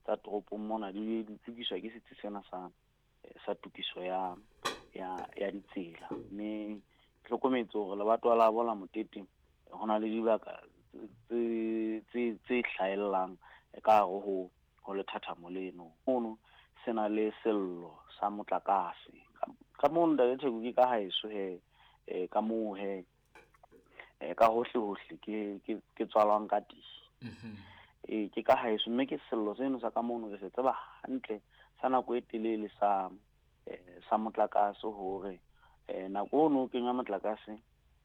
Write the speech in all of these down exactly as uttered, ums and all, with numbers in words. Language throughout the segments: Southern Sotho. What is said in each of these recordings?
tsa toropong mona di di lokiswa ke setsi sena sa sa tokiso ya ya ya ditsela. Mme ke hlokometse hore lebatowa la bo la Motete ho na le dibaka tse tse tse hlahellang ka hare ho ho lethathamo leno. Mono se na le sello sa motlakase. Ka mono Ntate Theko ke ka haeso he, eh ka moo he eh ka hohle hohle ke ke ke tswalwang ka teng. Eh ke ka haeso, mme ke sello seno sa ka mono re se tseba hantle sa nako e telele sa eh sa motlakase hore eh nako ono o kenya motlakase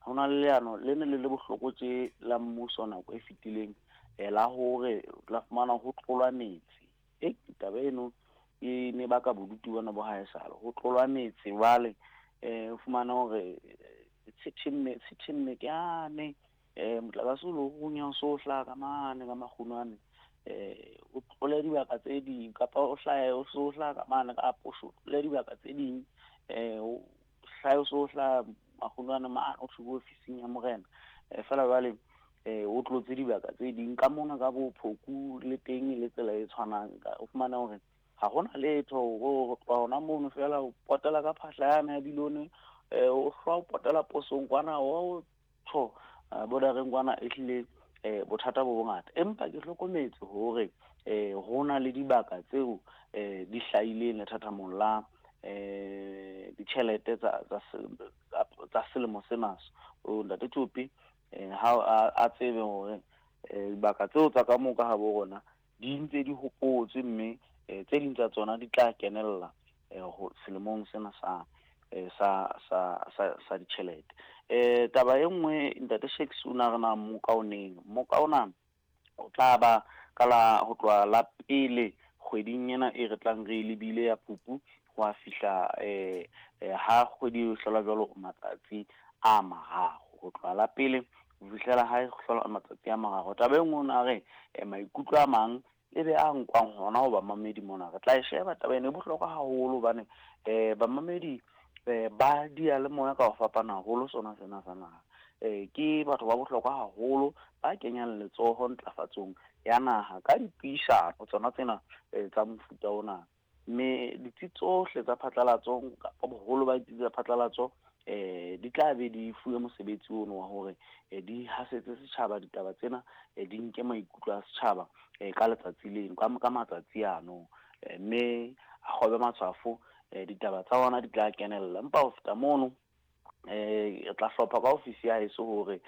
ho na le leano le ne le le bohloko tje la mmuso nako e fetileng, eh la hore la fumana ho tlolwa metsi. E taba eno e ne baka bodutu bona bo haesale, ho tlolwa metsi jwale eh o fumana hore tshithemme tshithemme ke yane eh motlakase o lo runya o so hlaha ka mane ka makgunwane, eh o tlole dibaka tse ding kapa o hlahe o so hlaha ka mane ka posho, o tlole dibaka tse ding, eh o hlahe o so hlaha makgunwane mane o thwe ofising ya morena. Eh feela jwale eh o tlotse dibaka tse ding ka mona ka bo Phoku le teng le tsela e tshwanang, o fumana hore ha hona letho ho tloha hona mono feela o potela ka phahla yane ya Bilone, eh o hlwa o potela posong kwana o tjho bordereng kwana, ehlile eh bothata bo bongata. Empa ke hlokometse hore eh ho na le dibaka tseo eh di hlahileng lethathamong la eh ditjhelete tsa tsa tsa selemo sena. O Ntate Tsopi eh ha a tsebe hore eh dibaka tseo tsa ka moo ka habo rona di ntse di hopotswe, mme tse ding tsa tsona di tla kenella eh ho selemong sena sa sa sa sa sa ditjhelete. Eh taba e nngwe Ntate Shakes o na re na moka o neng, moka ona o tla ba ka la ho tloha la pele kgweding ena e re tlang re lebile ya Phupu ho a fihla eh ha kgwedi e hlola jwalo matsatsi a mararo, ho tloha la pele ho fihlela ha e hlola matsatsi a mararo. Taba e nngwe o na re maikutlo a mang e be a nkwang hona ho bamamedi mona, re tla e sheba taba ena e bohlokwa haholo hobane eh bamamedi eh ba diyalemoya ka ho fapana haholo sona sena sa naha. Eh ke batho ba bohlokwa haholo ba kenyang letsoho ntlafatsong ya naha ka dipuisano tsona tsena tsa mofuta ona. Mme ditsi tsohle tsa phatlalatso kapa boholo ba ditsi tsa phatlalatso eh di tla be di fuwe mosebetsi ono wa hore di hasetse setjhaba ditaba tsena, di nke maikutlo a setjhaba ka letsatsi leno, ka ka matsatsi ano, mme a kgobe matshwafo, ditaba tsa ona di tla kenella. Empa ho feta mono eh re tla hlopha ka ofisi ya heso hore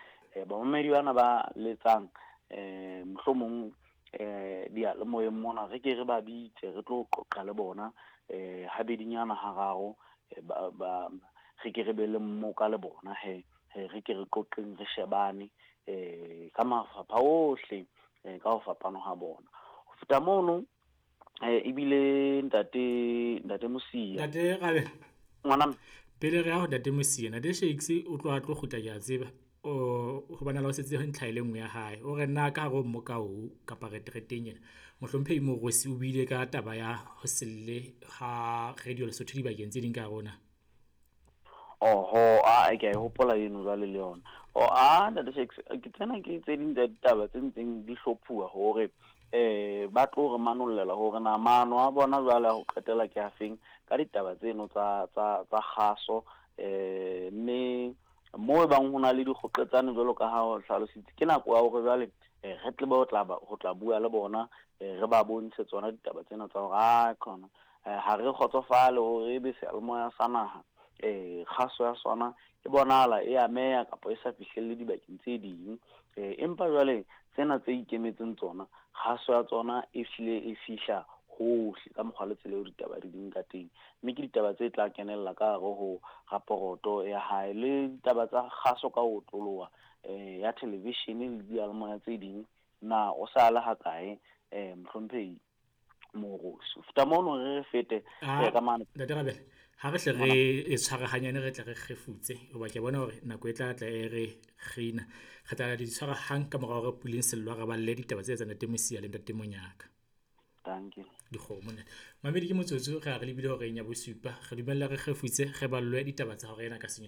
bamamedi bana ba letsang eh mohlomong eh diyalemoyeng mona re ke re ba bitse re tlo qoqa le bona eh habedinyana hararo, ba ba re ke re be le mmoka le bona he, re ke re qoqeng re shebane eh ka mafapha ohle ka ho fapana ha bona. Ho feta mono eh ebile ntate ntate Mosia, Ntate Rabe, ngwana pele re ya ho Ntate Mosia, Ntate Shakes o tloha tlo kgutla ke a tseba o hobane la o setse ho ntlha e le nngwe ya hae. O re nna ka hare ho mmoka oo kapa retreteng ena, mohlomphehi Moorosi o buile ka taba ya ho selle ha Radio Lesotho dibakeng tse ding ka hare ho naha. Oho, a ke a e hopola eno jwale le yona. O a Ntate Shakes, ke tsena ke tse ding tsa ditaba tse ntseng di hlophuwa hore eh ba tlo re manollela hore na maano a bona jwale a ho qetela ke afeng ka ditaba tseno tsa tsa tsa kgaso, eh mme mo e bang ho na le dikgoqetsane jwalo ka ha o hlalositse, ke nako ya hore jwale re tle ho tla ho tla bua le bona, re ba bontshe tsona ditaba tsena tsa hore a khona ha re kgotsofale hore ebe seyalemoya sa naha eh kgaso ya sona e bonahala e ameha kapa e sa fihlelle dibakeng tse ding, eh empa jwale tsena tse ikemetseng tsona kgaso ya tsona e hlile e fihla hohle ka mokgwa le tsela eo ditaba di ding ka teng, mme ke ditaba tse tla kenella ka hare ho raporoto ya hae le ditaba tsa kgaso ka ho otloloha eh ya television le diyalemoya tse ding. Na o sa le ha kae eh mohlomphehi Moorosi? Ho feta mono re fete ka mane Ntate Rabele, ha re hle re e tshwarahanyane, re tle re kgefutse hoba ke bona hore nako e tla tla e re kgina. Re tla di tshwara hang ka mora hore Puleng Sello a re balle ditaba tse tsa Ntate Mosia le Ntate Monyaka. Thank you. Dikgomo ntate. Mamedi ke motsotso re a re lebile horeng ya bosupa. Re dumella re kgefutse re ballwe ditaba tsa hora ena ka senye.